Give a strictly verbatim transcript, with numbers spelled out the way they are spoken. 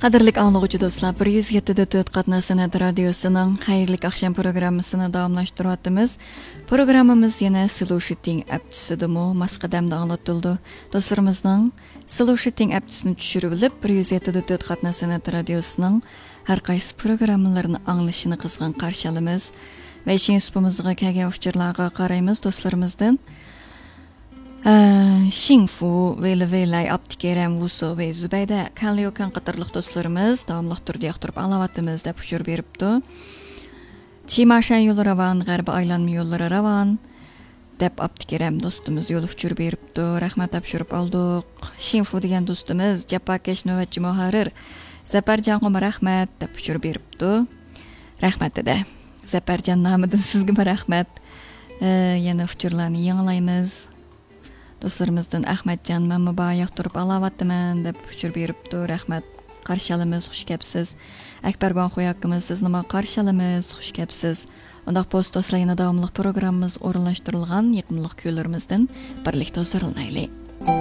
قەدىرلىك ئاڭلىغۇچى دوستلار، بىر يۈز يەتتە دۆت قاتناش سەنئەت رادىيوسىنىڭ خەيرلىك ئاخشام پروگراممىسىنى داۋاملاشتۇرۇۋاتىمىز. پروگراممىمىز يەنە سلوشىتىڭ ئەپچىسىدىمۇ ماس قەدەمدە ئاڭلىتىلىدۇ. دوستلىرىمىزنىڭ سلوشىتىڭ ئەپچىسىنى چۈشۈرۈۋېلىپ، بىر يۈز يەتتە دۆت قاتناش سەنئەت رادىيوسىنىڭ ھەر قايسى پروگراممىلىرىنى ئاڭلىشىنى قىزغىن قارشى ئالىمىز. ۋەي شىڭ سۇپىمىزغا كەلگەن ئۇچۇرلارغا قارايمىز دوستلىرىمىزدىن. ئە، شىڭفۇ، ۋېيلى ۋېيلاي، ئابدۇكېرەم، ۋۇسو، ۋېي زۇبەيدە، كەنليوكەن قاتارلىق دوستلىرىمىز داۋاملىق تۈردە ياقتۇرۇپ ئاڭلاۋاتىمىز دەپ ئۇچۇر بېرىپتۇ. چىماشەن يولى راۋان، غەربىي ئايلانما يوللىرى راۋان دەپ ئابدۇكېرەم دوستىمىز يول ئۇچۇر بېرىپتۇ. رەھمەت تاپشۇرۇپ ئالدۇق. شىنفۇ دېگەن دوستىمىز جاپاكەش نۆۋەتچى مۇھەررىر زەپەرجانغىمۇ رەھمەت دەپ ئۇچۇر بېرىپتۇ. رەھمەت دېدى. زەپەرجان نامىدىن سىزگىمۇ رەھمەت. ئە، يەنە ئۇچۇرلارنى يېڭىلايمىز. دوستلىرىمىزدىن ئەخمەتجان، مەنمۇ بار ياقتۇرۇپ ئاڭلاۋاتىمەن دەپ ئۇچۇر بېرىپتۇ. رەھمەت. قارشى ئالىمىز، خۇش كەپسىز. ئەكبەر گۇاڭخۇي ئاكىمىز، سىزنىمۇ قارشى ئالىمىز، خۇش كەپسىز. ئۇنداق بولسا دوستلار، يەنە داۋاملىق پروگراممىمىز ئورۇنلاشتۇرۇلغان يېقىملىق كۈيلىرىمىزدىن بىرلىكتە ھۇزۇرلىنايلى.